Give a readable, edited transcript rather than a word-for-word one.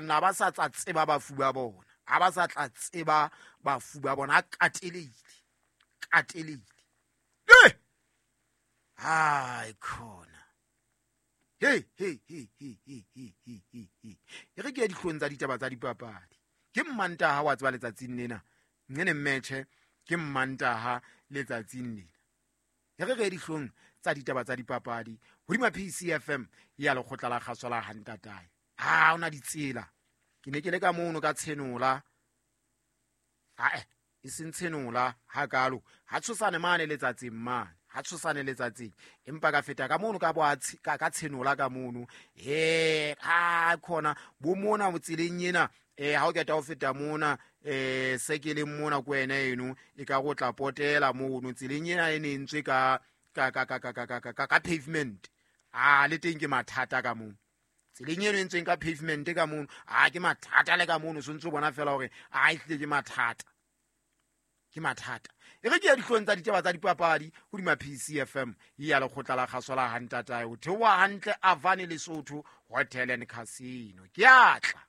Na ba sa tla tseba bafu ba bona, ha ba sa tla tseba bafu ba bona, a katelehile, katelehile. Eh! Hai khona. Hey, hey, hey, hey, hey, hey, hey, hey, hey. E re ke ya dihlong tsa ditaba tsa dipapadi. Ke Mmantaha wa tseba letsatsing lena. Nqene mmetjhe ke Mmantaha letsatsing lena. E re re ye dihlong tsa ditaba tsa dipapadi hodima PCFM ya lekgotla la kgaso la Hantatae. Ha ona ditsela. Ke ne ke le ka mono ka tshenola. Ae, e seng tshenola hakalo. Ha tshosane mane letsatsing mane. Ha tshosane letsatsing. Empa ka feta ka mono ka bo ka, ka tshenola ka mono. Eh, ha khona bo mona tseleng ena ha o keta ho feta mona se ke leng mona ko wena eno e ka go tla potela mono tseleng ena e ne entswe ka ka ka ka ka ka ka ka ka pavement. A le teng ke mathata ka mono. Tseleng eno e entsweng ka pavement ka mono, a ke mathata le ka mono, sontse o bona fela hore a e hlile ke mathata. Ke mathata. E re ke ya dihlong tsa ditaba tsa dipapadi hodima PCFM ya lekgotla la kgaso la Hantatae. O theoha hantle Avane Lesotho Hotel and Casino. Ke a tla.